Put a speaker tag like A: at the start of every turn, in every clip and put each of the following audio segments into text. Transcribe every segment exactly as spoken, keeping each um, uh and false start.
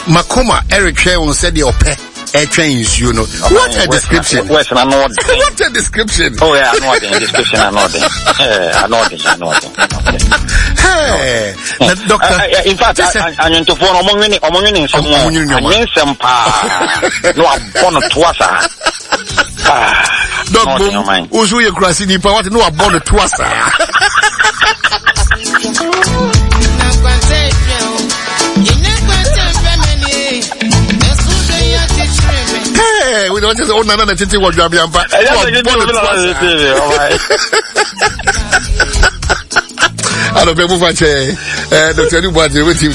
A: Makoma ɛretwɛn wɔn sɛdeɛ ɔpɛ ɛtwɛn nsuo no. What a description.
B: What
A: a description.
B: Oh yeah, ano ɔden description ano ɔden. Ano ɔden ano ɔden.
A: Hey, na doctor.
B: In fact, anwontofoɔ no ɔmo nwene ɔmo nwene nsɛm
A: ɔmo nwene nneɛma.
B: Anwe nsɛm paa na wabɔ no toa saa.
A: Dɔk bom, wosu yɛ kurasi nipa wate na wabɔ no toa saa. Hey, we don't just own another titi what you have I don't know Doctor Adu with him.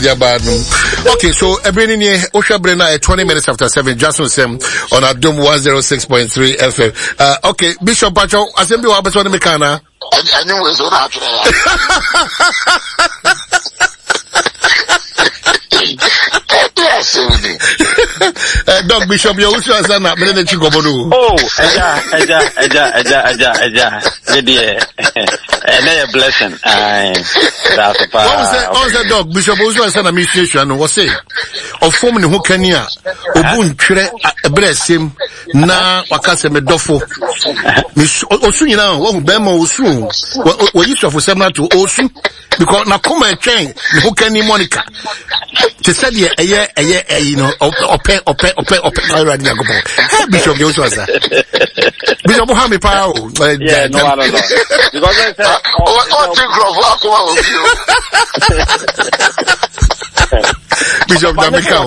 A: Okay, so every near Osha Brena at twenty minutes after seven, Jason Sem on Adom one oh six point three F M. Uh, okay, Bishop Pacho, Assembly Wabaswan Mekana.
C: I knew it was not.
A: Uh, Doc Bishop, you also has done that.
B: Oh, eja, eja, eja, eja, eja, eja. Yeah, a blessing. Aye. That's
A: a what was that? What was that, Doc Bishop? Also has done a mission. Was say, of form who can ya? Obun tre bresim na wakase me dofo. Miss Osu you know, oh Bema Osu. What you for seven to Osu? Because na come train who can Monica. To say yeah, yeah, yeah, you know, ope, ope, ope, ope. Hey, Bishop, you also answer. Bishop, how me power?
B: Yeah, no, I don't know. Because I said,
C: oh, oh,
A: Bishop Jamaica.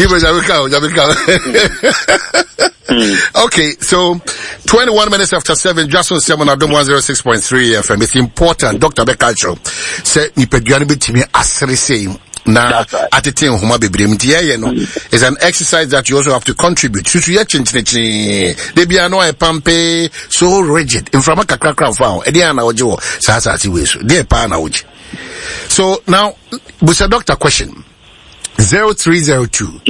A: Jamaica, Jamaica. Okay, so twenty-one minutes after seven, Jason Seven Adom one oh six point three F M. It's important, Doctor Bekacho. Say nipeduane betimi asere sei na atete nhoma bebree nti ye no is an exercise that you also have to contribute. Susu ye chinchinchin. De bia no e pampe so rigid. Mframa kakra kra fa ho. E de ana oje wo sa sa ati we so. De pa na oje. So now, busa doctor question. zero three zero two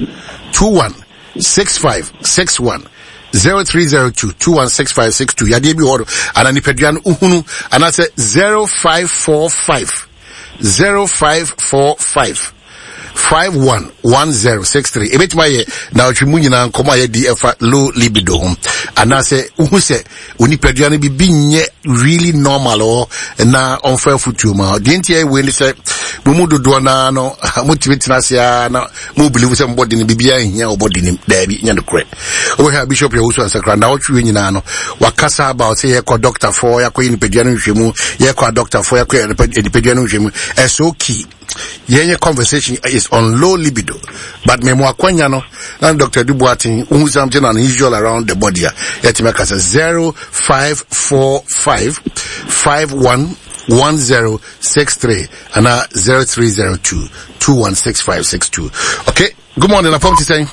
A: two one six five six one zero three zero two two one six five six two. Yade bi hɔ ana nipadua no uhunu ana sɛ zero five four five zero five four five five one one zero six three. Ebetuma ye na otwi mu nyina nkɔmɔ a yɛdi ɛfa low libido ho ana sɛ uhu sɛ onipadua no bibi nyɛ really normal o na ɔmfa afutuo ma deɛ nti ɛwɔ ni sɛ mo mu dodoɔ na no motumi tena ase a na mo believe sɛ mbɔde no bibia nhia ɔbɔde nim daabi nyɛ nokorɛ. Wobɛhwɛ Bishop Yawusu Ansakra na ɔtwe nyinaa no wakasa about sɛ yɛkɔ doctor for yɛakɔyɛ nipadua no nhwɛmu yɛkɔ a doctor for yɛakɔyɛ nipadua no nhwɛmu. Ɛso key yɛnyɛ conversation is on low libido, but me mo akwanya no na Doctor Adu Boateng who something unusual around the body yɛtumi akasa zero five four five five one one zero six three and zero three zero two two one six five six two. Okay, good morning. Apom ti.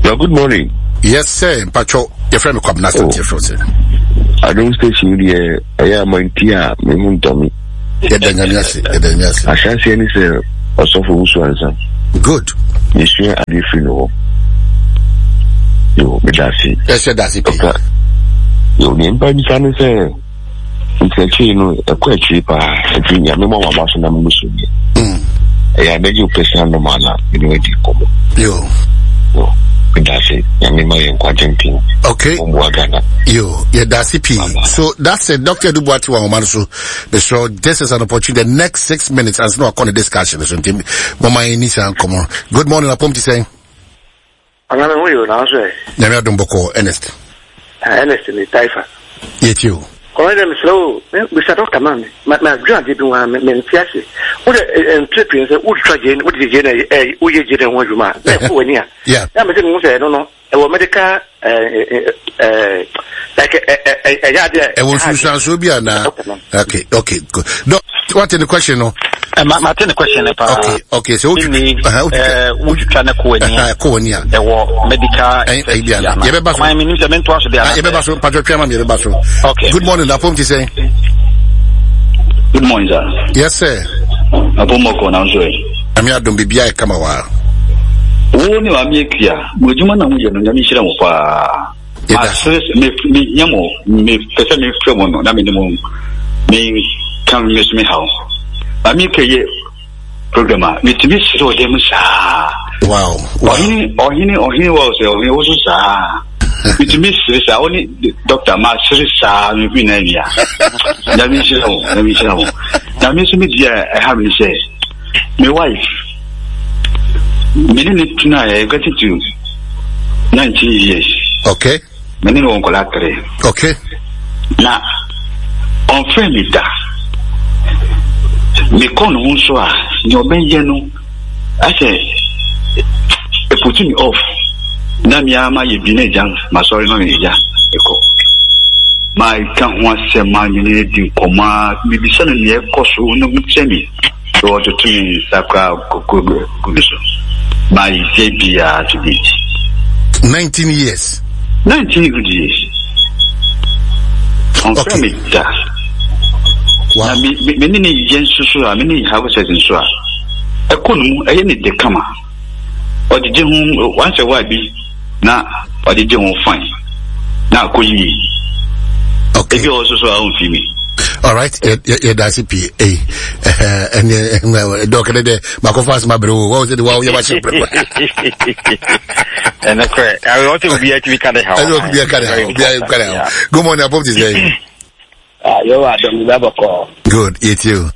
D: Yeah, good morning.
A: Yes, sir. Pacho, your friend Kwabena oh.
D: I don't station here. I am a me muntomi. I shan't see any say or suffer who answer.
A: Good.
D: You swear I did feel no. You, Medasi.
A: Yes, sir, that's it.
D: Okay. You name by the sun say. It's a chain, a quite cheap. I think I'm more about some Muslim. I beg you, personal no manner, you know,
A: Yo.
D: That's it.
A: Okay. Yo, yeah, that's it. So that's it. Doctor Adu Boateng so so this is an opportunity. The next six minutes, as no a discussion. So Mama Enisa come on. Good morning, Apom ti saying. Nyame adom bɔkɔ Ernest.
E: Ernest ni Taifa.
A: Yet you.
E: Kɔrɔ slow. Mister Doctor man, ma ma dwa de bi wa me ntiase. Wo de entrepreneur sɛ wo twa je, wo de je na eh wo ye je na ho adwuma. Na ko wani a.
A: Yeah.
E: Na me se mo sɛ no no. E wo medical eh eh like eh eh ya de.
A: E wo sunsun bi ana. Okay, okay. Good. Doc, what in the question no?
B: Eh ma ma the question pa.
A: Okay, okay. So
B: eh wo twa na ko wani a.
A: Ko wani a.
B: E wo medical
A: eh bi ana. Ye be ba so.
B: Ma me nim se me nto aso de ana.
A: Ye be ba so patro twa ma me be ba so.
B: Okay.
A: Good morning, Apom ti say.
F: Good morning, sir.
A: Yes, sir.
F: Apomoko na nso.
A: Ami adom bibia e kama wa.
F: Wo ni wa mi ekua. Mo adwuma na mo ye no nyame hira mo pa. Asere me me nyamo me pese me frɛ mo no na me ni mo me kan me so me how. Ami ke ye Program a metumi sere ɔdɛ mu saa.
A: Wow.
F: Ɔhene ɔhene ɔhene wɔ sɛ ɔhene wo so saa. Metumi sere saa, wo ne dɔkta ma sere saa mefi na awia. Nyame nhyira wo, nyame nhyira wo. Na me nso me deɛ ɛha me sɛ me wife me ne ne tena yɛ getting to nineteen years.
A: Okay.
F: Me ne no wɔ nkwadaa three.
A: Okay.
F: Na ɔmfrɛ me da. Mekɔ ne ho nso a, nea ɔbɛyɛ no asɛ ɛputu me off. Na me ara mayɛ bi na agya masɔre na agya ɛkɔ. Maka ho asɛm a me ne adi nkɔmmɔ a mebisa no nea ɛkɔ so no ho kyerɛ me. Sɛ ɔtoto me nsa koraa kɔkɔ gu me so. Mayɛ biara to date.
A: nineteen years.
F: nineteen good years. Ɔmfrɛ me da. Na me me ne ne yɛ nso so a me ne have sex nso a ɛkɔ no mu ɛyɛ ne de kama. Ɔgyegye ho once a while bi na ɔgyegye ho fine na akɔ yie.
A: Okay.
F: Ebi wɔ so so a ɔmfi mi.
A: All right, yɛda ase pii. Ei, ɛneɛ dɔk ne dɛ makɔfa asɛm abrɛ wo. Wɔwo sɛ de wawo yɛmahyɛ brɛ.
B: Ɛno korɛ ɔsɛ obiara tumi ka de haw.
A: Ɛne obiara ka de haw, obiara ka de haw. Good morning, apɔm te sɛ.
G: Ah, yo adom bɛbɔkɔ.
A: Good, yɛtie o.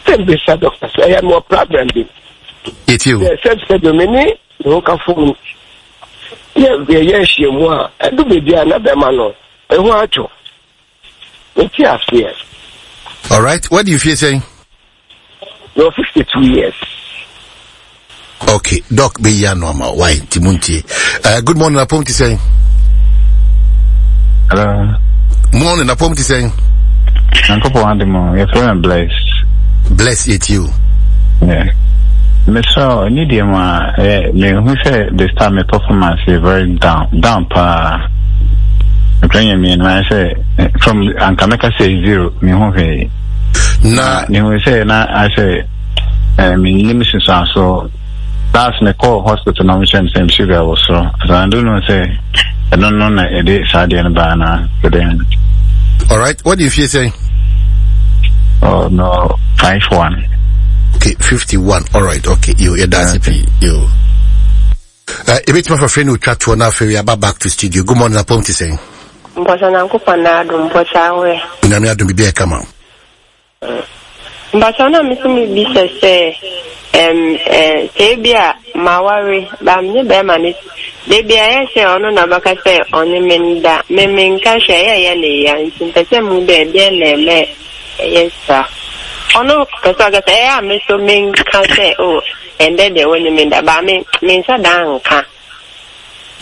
G: Sɛ mbisa doctor sɛ ɛyɛ mewɔ problem bi.
A: Yɛtie o.
G: Sɛ sɛ sɛ me ne me ho kafo mu yɛ yɛyɛ nhyiamu a ɛdu baabi a na bɛma no ɛho atwo. Mete aseɛ.
A: All right, what do you feel saying?
G: You're fifty-two years.
A: Okay, Doc, be ya normal. Why? Timunti. Uh, good morning, Apom ti saying.
H: Hello.
A: Morning, Apom ti saying.
H: Uncle Ademo, your friend bless.
A: Bless it you.
H: Yeah. Mister, need ma eh me who say this time my performance is very down, down pa. I'm me and I say from Ankameka say zero, me who hey.
A: Na
H: me who say na I say eh me name is so last me call hospital na me same sugar was so. So I don't know say I don't know na it is Sadian ba na then.
A: All right, what do you feel saying?
H: Oh no, five one.
A: Okay, fifty-one. All right, okay. You, yeah, that's it. You. Uh, a bit more for friend who chat to now. We are back to studio. Good morning, Apom ti saying.
I: Mposa na nkupa na adu mposa awe.
A: Nyame adu bibi e kama.
I: Mposa na misumi bi se se em eh se bia mawari ba me be ma ni de bia ye se ono na baka se oni menda me menka hwe ye ye ne ya nti mpese mu de de na me yes sir. Ono pese ga se eh me so menka se o ende de woni menda ba me mensa dan ka.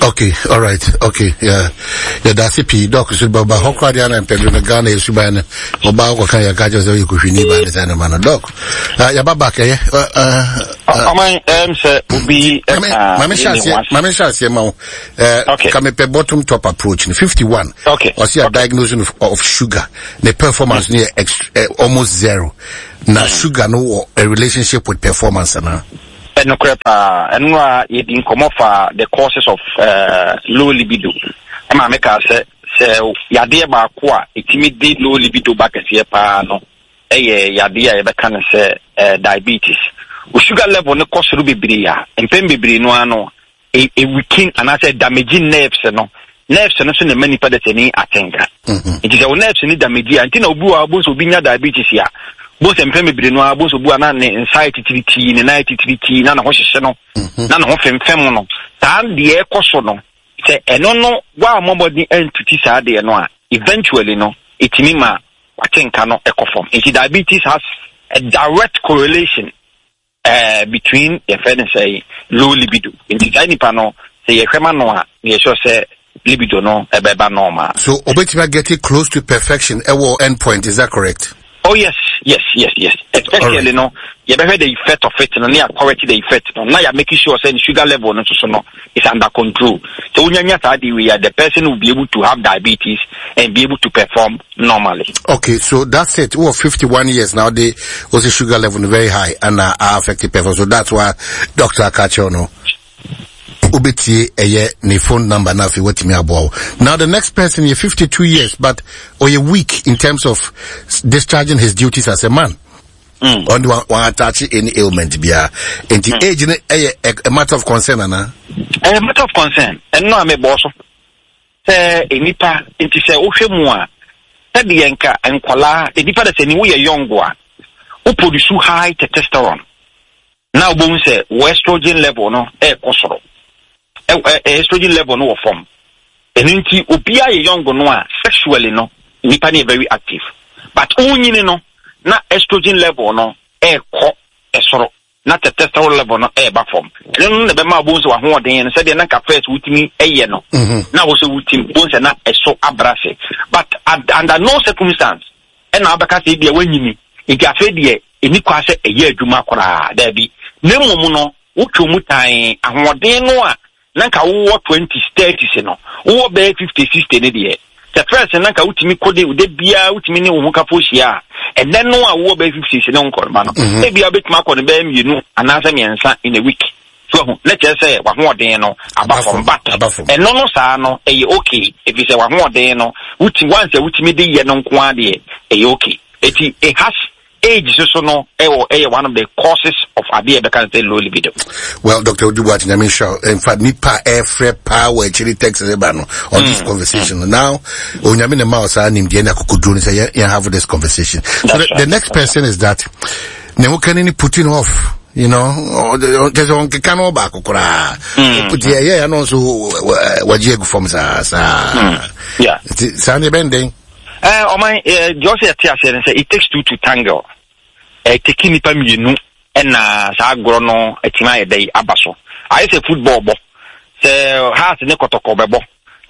A: Okay, all right, okay, yeah, yeah. That's it. P doc so baba hokra dia na mpedro na Ghana yesuban oba ko kan ya ka je so yekuhwini ba ne san ma no doc. Uh, ya baba ka ye.
B: Uh, uh, em se obi
A: ma me sha ma me sha se ma eh ka me pe bottom top approach ni fifty-one.
B: Okay.
A: O see a diagnosis of, of sugar. The performance near ex, uh, almost zero. Na sugar no a relationship with performance na.
B: No crap, and you didn't come off the causes of uh, low libido. I'm a say, say, Yadia Bakwa, it did low libido back as ye pa no, eh, Yadia, ever can say diabetes. O sugar level no cost ruby bria, and pen be no, no, a weaken and I said damaging nerves, no, nerves, no, so many pedestrian atenga. It is our nerves in damage, and Tina Bua, both will be diabetes here. Both and family no both obu ana ne anxiety titi ne night titi na na ho hyehyɛ no na na ho femfem no taa de ekoso no se eno no wa mobody entuti saa de no a eventually no etimi ma watenka no ekofom. Nti diabetes has a direct correlation uh, between your friend say low libido. Nti saa nipa no se ye hwema no a ye sure say libido no ebeba normal.
A: So obetimi get it close to perfection ewo end point, is that correct?
B: Oh yes, yes, yes, yes. Especially right. No, you better the effect of it, no, you correct the effect. No, now you're making sure saying sugar level no, so no, is under control. So when you are the person will be able to have diabetes and be able to perform normally.
A: Okay, so that's it. Well, fifty-one years now, they was the sugar level very high and uh, affected performance. So that's why Doctor Akachono Ubetie eye ne phone number na fi wetimi aboa. Now the next person is fifty-two years, but or you weak in terms of discharging his duties as a man. Mm. On the one, one attach any ailment bia. And the mm. age a, a matter of concern, ana.
B: A matter of concern. And no, I'm a boss. Sɛ nipa nti sɛ wohwɛ mu a sɛdeɛ nka nkwalaa nipa da sɛ ni woyɛ young a wo produce high testosterone na wobɛhu sɛ wo estrogen level no ɛɛkɔ soro, estrogen level no wɔ fam. Ɛno nti obiara yɛ young no a sexually no nipa no yɛ very active, but wonyini no na estrogen level no ɛɛkɔ ɛsoro na testosterone level no ɛɛba fam. Ɛno no na ɛbɛma wobɛhu sɛ wahoɔden no sɛdeɛ na nka first wotumi ɛyɛ no na wo sɛ wotim bohu sɛ na ɛso abra se. But under no circumstance ɛna wobɛka sɛ ebia woanyini nti afei deɛ ɛni kwa sɛ ɛyɛ adwuma koraa, daabi. Na mmom no wotwe mu tan ahoɔden no a na nka wowɔ twenties thirties no wowɔ bɛyɛ fifty sixty ne deɛ sɛ first na nka wotumi kɔ de biara wotumi ne wo ho kafo hyia a ɛnɛ no a wowɔ bɛyɛ fifty ne nkɔrɔma no ebia wobɛtumi akɔ no bɛyɛ mmienu anaasɛ mmiɛnsa in a week. So ahu na kyerɛ sɛ wahoɔden no aba fam, but ɛno no saa no ɛyɛ okay ɛfiri sɛ wahoɔden no wuti once a wotumi de yɛ no nko ara deɛ ɛyɛ okay. Eti it has age so so no ɛwɔ ɛyɛ one of the causes of adeɛ ɛbɛka sɛ low libido.
A: Well, Doctor Odubuat Nyamisha, in fact, nipa ɛfrɛ power actually text ɛba no on mm. this conversation. Mm. Now, Onyame ne ma osa nim deɛ na kokoduro ne sɛ yɛn have this conversation. So the, the next person is that ne ho kani ni putting off. You know, there's one can all back. Put yeah, yeah, no, so what you from sa sa.
B: Yeah.
A: Sandy bending.
B: Eh, oh my, just say it takes two to tangle. Eh, taking nipa mienu na sa agro no etima ye aba so. I say football bo. Se heart ne kotoko bebo.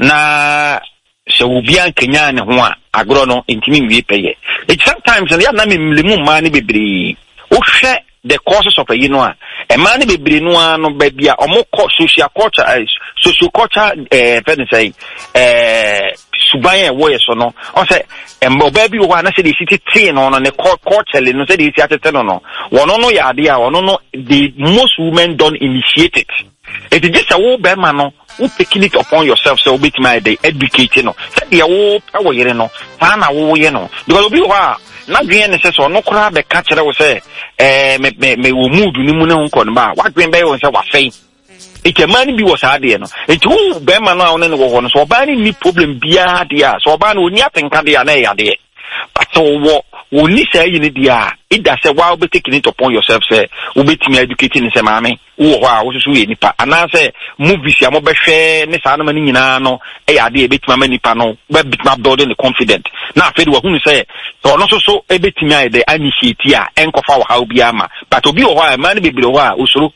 B: Na se obi an kenya ne ho a agro no ntimi nwie peye. It sometimes ya na memlemu ma ne bebre. O hwe the causes of a you know a man bebre no no ba bia omo social culture social culture eh fɛn say eh suban e wo yeso no o say emba ba bi wo na say de city tea no no ne culture no say de si atete no no wono no ya ade a wono no the most women don't initiate it. It is just a wo be ma no wo taking it upon yourself so obetimi dey educate no say de wo pe wo yere no ta na wo ye no because obi wo a na dwen ne se so no kora be ka kere wo se eh me me me wo mood ni mu ne ho nkɔ no ba wa dwen be wo se wa fei e man bi wo saa de no e ti wo be ma no a wo ne wo ho no so oba ni ni problem bia de a so oba no oni atenka de a na ya de but so wo wo ni say yi ni de a it da se wa be taking it upon yourself say wo betimi educate ni se maame wo ho a wo soso ye nipa ana se movies ya mo behwe ne saa no ma ni nyina no e ya de e betimi ama nipa no be betimi building the confident na afedi wa hunu se so no soso e betimi aye de initiate a enkofa wo ha obi ama but obi wo ho a ma ne bebre ho a osoro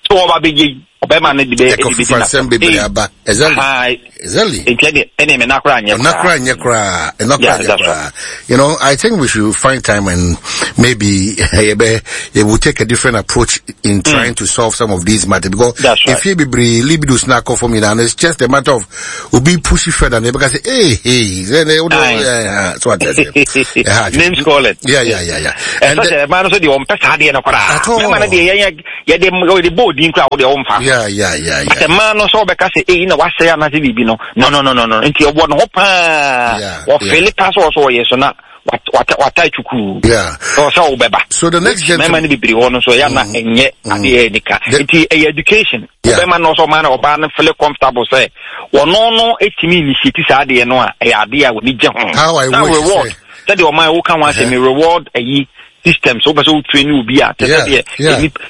B: so wo ba be ye obema ne de be
A: e be aba exactly exactly
B: enti ene me nakra anye
A: nakra anye kra nakra anye kra. You know, I think we should find time and maybe it will take a different approach in trying mm. to solve some of these matters because right. If you be libido snack off for me now, it's just a matter of will be pushy further and because hey hey then they would so what
B: I names call it.
A: Yeah yeah yeah yeah.
B: And the man so the on pesa de na kra. Man de ye ye de de bold in kra wo de on fa.
A: Yeah yeah yeah yeah.
B: But the man no so be ka say eh na wa say na say bibi no. No no no no no. Nti obo no ho pa. Wo feel pass so yes na what what what I chuku.
A: Yeah.
B: So so beba.
A: So the next gentleman
B: man be bri ho no so ya na enye ade nika. Nti education. Obema no so man oba no feel comfortable say wono no etimi initiate saa de no a e ade a woni gye ho.
A: How I wish
B: reward. Say the oman wo kan wan say me reward ayi system so person train you be at say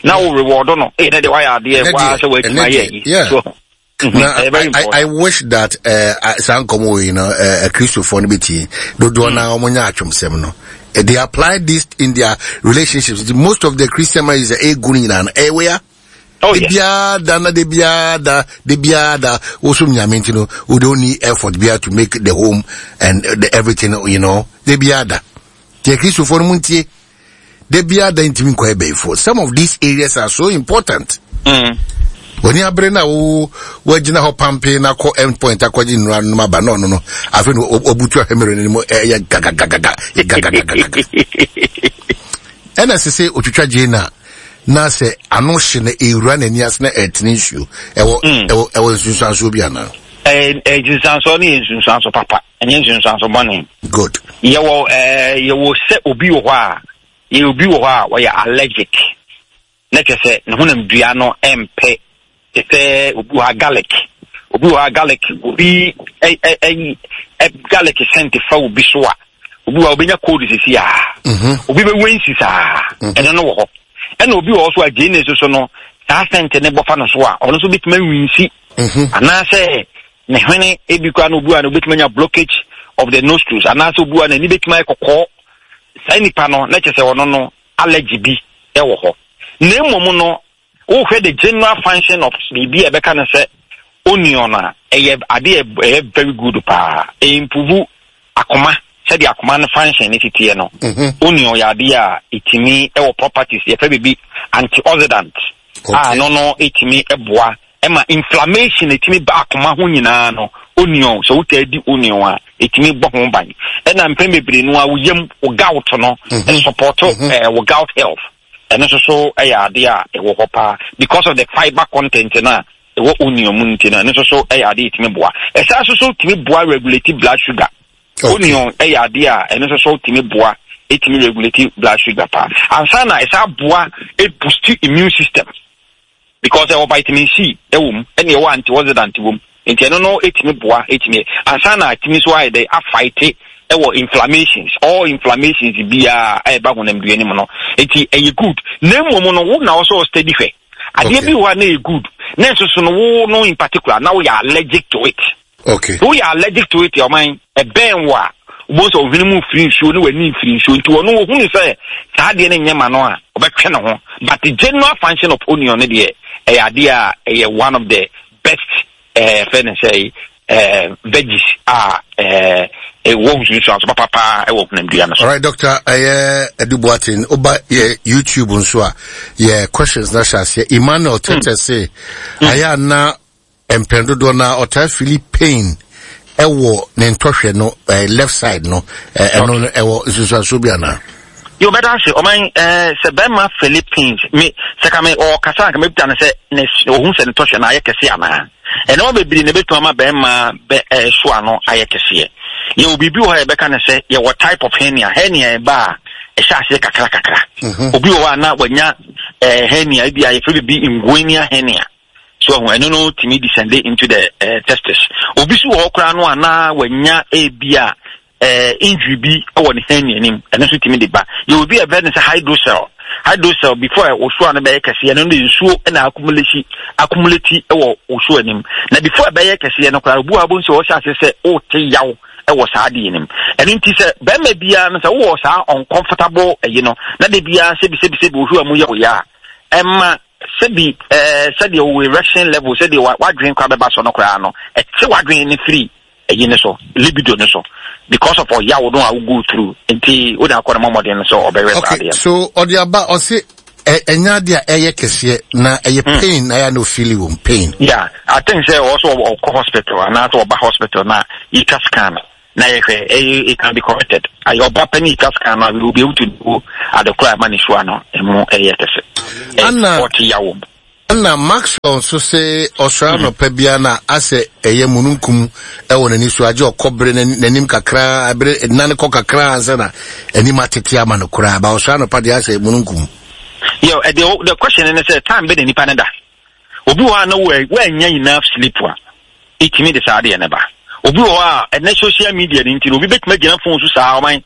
B: now reward no eh na de why ade wa say wa etimi aye. So
A: Mm-hmm. Now, I, I, I wish that uh Sankomo, you know, uh Christopher Nibiti, do na omonya achum no. They apply this in their relationships. Most of the Christian marriages are a good in an area.
B: Oh yeah.
A: Debia da na debia da debia da also nyame no we don't need effort bia to make the home and the everything, you know. Debia da. The Christopher muntie. Debia da ntimi kwa be for. Some of these areas are so important.
B: Mm.
A: When you bring na wo wagina ho pampe na ko end point akwaji nura no maba no no no afi no obutu ahemere ni mo eh gaga gaga gaga gaga ena se otwitwa je na na se ano hye na ewura na ani ase na etene nsuo ewo ewo ewo nsunsuanso bi ana
B: eh eh nsunsuanso ni nsunsuanso papa enye nsunsuanso bone
A: good
B: yewo eh yewo se obi wo ho a Yɛ obi wɔ hɔ a ɔyɛ allergic, na kyerɛ sɛ ne honam dua no ɛmpɛ, te sɛ obi wɔ ha garlic, obi wɔ ha garlic, obi ɛ ɛ ɛ garlic scent fa obi so a, obi wɔ ha obenya cold sisi a, obi bɛ wensi saa, ɛno no wɔ hɔ. Ɛna obi wɔ hɔ so a gyeene soso no saa scent ne bɔfa no so a, ɔno nso betumi awinsi, anaasɛ ne hwene ebi koraa na obi wɔ ha na obetumi anya blockage of the nostrils, anaasɛ obi wɔ ha n'ani betumi ayɛ kɔkɔɔ. Saa nipa no na kyerɛ sɛ ɔno no allergy bi ɛwɔ hɔ. Na mmom no, wohwɛ the general function of biribi a ɛbɛka no sɛ onion a, ɛyɛ adeɛ a ɛyɛ very good paa. Ɛimprove akoma, sɛdeɛ akoma no function ne titeɛ no. Onion yɛ adeɛ a ɛtumi ɛwɔ properties, yɛfrɛ biribi antioxidant, a ɛno no ɛtumi ɛboa ɛma inflammation ɛtumi ba akoma ho nyinaa no. Onion, sɛ wotaa di onion a, ɛtumi bɔ ho ban. Ɛna mpɛn bebree no a, wo yam, wo gout no, ɛsupport ɛɛ wo gout health. Ɛno nso so ɛyɛ adeɛ a ɛwɔ hɔ paa because of the fibre content no a ɛwɔ onion mu nti no, ɛno nso so ɛyɛ adeɛ a ɛtumi boa. Ɛsan nso so tumi boa regulate blood sugar. Onion ɛyɛ adeɛ a ɛno nso so tumi boa, ɛtumi regulate blood sugar paa. Ansa na ɛsan boa ɛboost immune system, because ɛwɔ vitamin C ɛwɔ mu, ɛna ɛwɔ antioxidant wɔ mu, nti ɛno no ɛtumi boa, ɛtumi ansa na ɛtumi nso ayɛ dɛ afight ɛwɔ inflammations, all inflammations biara a ɛba honamdua no mu no. Nti ɛyɛ good. Na mmom no, wo na wɔsɛ ɔsteady hwɛ adeɛ bi wɔ a na ɛyɛ good, na nso so no wo no in particular na woyɛ allergic to it.
A: Okay.
B: Woyɛ allergic to it, ɔman ɛbɛn wo a, wobɛhu sɛ ɔhwene mu firi nsuo ne w'ani mfiri nsuo, nti ɔno wɔhunu sɛ saa adeɛ no nyɛ ma no a, ɔbɛtwe ne ho. But the general function of onion no deɛ, ɛyɛ adeɛ a ɛyɛ one of the best ɛɛ fɛ ne sɛ ɛɛ veggies a ɛɛ ɛwɔ nsunsuanso papapaa ɛwɔ honamdua no so.
A: Alright, Doctor, ɛyɛ Adu Boateng. Oba yɛ YouTube nso a, yɛ questions na hyɛ aseɛ. Emmanuel Tete se, ayɛ ana mpɛn dodoɔ na ɔtaa feel pain ɛwɔ ne ntɔhwɛ no, ɛɛ left side no, ɛɛ ɛno no ɛwɔ nsunsuanso bi anaa?
B: Yo, bɛda ase. Ɔman ɛɛ sɛ bɛrima Philippines me sɛ ka me ɔkasa nka mebita no sɛ ne ohun sɛ ne tɔhwɛ no ayɛ kɛse anaa. Ɛnɛma bebree na ebetumi ama bɛrima bɛ ɛɛ so ano ayɛ kɛseɛ. Yɛwɔ biribi wɔ hɔ a yɛbɛka no sɛ yɛwɔ type of hernia. Hernia ɛba a ɛhyɛ aseɛ kakra kakra. Obi wɔ hɔ a na wanya ɛɛ hernia ebi a yɛfrɛ biribi inguinal hernia. So ɛho ɛno no tumi descend into the uh, testis. Obi so wɔ hɔ koraa no a na wanya ebi a uh, injury bi wɔ ne hernia nim, ɛno nso tumi de ba. Yɛ obi a ɛbɛn ne sɛ hydrocele. Hydrocele, before osuo ano bɛyɛ kɛseɛ no, de nsuo na accumulate accumulate wɔ osuo anim, na before ɛbɛyɛ kɛseɛ no koraa, obi wɔ abɔ nsuo ɔhyɛ ase sɛ ɔte yaw ɛwɔ saa adeɛ nim. Ɛno nti sɛ bɛrima biara no, sɛ wowɔ saa uncomfortable ɛyi no na de biara sɛbi sɛbi sɛbi ohwɛ mu yɛ wo ya a, ɛma sɛbi ɛɛ sɛdeɛ wo erection level, sɛdeɛ wadwene koraa bɛba so no koraa no, ɛte wadwene ne firi ɛyi ne so, libido ne so, because of ɔyaw no a wo go through. Nti wo de akɔ ne mɔmɔden no sɛ ɔbɛhwɛ saa
A: Okay,
B: adeɛ no.
A: so ɔde aba, ɔse ɛnyɛ adeɛ a ɛyɛ kɛseɛ na ɛyɛ pain na ɛyɛ na ofeeli wɔm pain.
B: Yeah, I think sɛ ɔwɔ so ɔkɔ hospital anaasɛ ɔba hospital na yɛtwa scan na yɛhwɛ, ɛyɛ it can be corrected. Ayɛ ɔba pɛ ne yɛtwa scan no a, we will be able to know adekora a ɛma ne sua no ɛmu ɛyɛ kɛse.
A: Anna-
B: ɔte yaw mu.
A: Ɛna Maxwell nso se ɔsɔre anɔpa biara na asɛ ɛyɛ mununkum ɛwɔ n'ani so, agye ɔkɔ bere n'anim kakra, bere nane kɔ kakra ansa na anim atete ama no koraa, ba ɔsɔre anɔpa deɛ asɛ mununkum.
B: Yo, eh, the, the question ne sɛ time bɛ na nipa ne da. Obi wɔ hɔ a na wɔanya enough sleep a, ɛtumi de saa adeɛ ne ba. Obi wɔ hɔ a ɛnɛ social media ne nti no, obi bɛtumi agyina phone so saa ɔman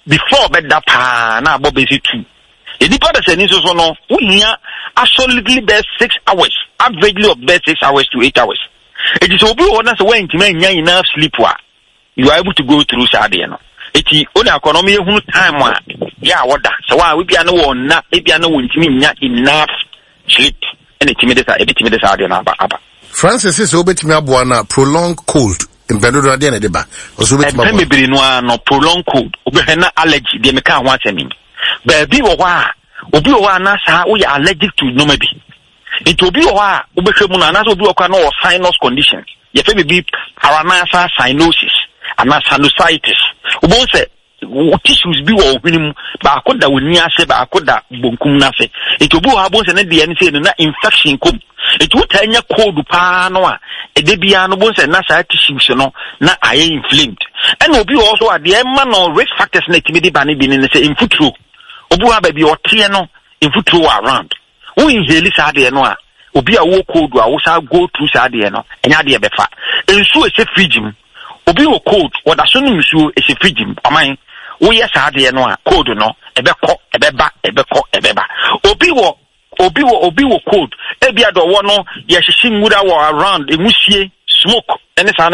B: before bɛda paa na abɔ bɛsi two. Nipa da sɛ ni nso so no, wohia absolutely bɛɛ six hours, averagely of bɛɛ six hours to eight hours. Eti sɛ obi wɔ hɔ na sɛ wɔantumi anya enough sleep a, you are able to go through saa adeɛ no. Eti o na akɔ na ɔmo yɛhunu time a yɛ a wɔda sɛ wɔn a ebia ne wɔn nna, ebia ne wɔn ntumi nya enough sleep, ɛna etumi de saa ebitumi de saa adeɛ no aba aba.
A: Francis sɛ wobɛtumi aboa no a, prolonged cold mpɛn dodoɔ adeɛ na ɛde ba, ɔsɛ wobɛtumi
B: Mpɛn
A: aboa.
B: bebree no ara no, prolonged cold, wobɛhwɛ na allergy deɛ meka ho asɛm yi, baabi wɔ hɔ a obi wɔ hɔ a na saa woyɛ allergic to nneɛma bi, nti obi wɔ hɔ a wobɛhwɛ mu no, anaasɛ obi wɔ hɔ a na ɔwɔ sinus condition, yɛfɛ biribi paranasal cyanosis anaa sinusitis. Wobɛhu sɛ wo tissues bi wɔ wo hwene mu, baako da w'ani ase, baako da bonkum no ase, nti obi wɔ hɔ a wobɛhu sɛ ne deɛ no sɛ no na infection kɔm, nti wotaa nya cold paa no a, ɛda biara no wobɛhu sɛ na saa tissues no na ayɛ inflamed. Ɛna obi wɔ hɔ so a deɛ ɛma no risk factors na ɛtumi de ba no bi ne ne sɛ mfuturo. Obi wɔ baabi ɔteɛ no, mfuturo wɔ around. Wo inhale saa adeɛ no a, obi a wɔ cold a wosa go through saa adeɛ no, ɛnyɛ adeɛ bɛfa. Nsuo ɛhyɛ fridge mu, obi wɔ cold, wɔda so nom nsuo ɛhyɛ fridge mu. Ɔman woyɛ saa adeɛ no a, cold no ɛbɛkɔ, ɛbɛba, ɛbɛkɔ, ɛbɛba. Obi wɔ obi wɔ obi wɔ cold, ebi a dɔwɔ no yɛhyehyɛ nwura wɔ around, enwusie, smoke ɛne saa no.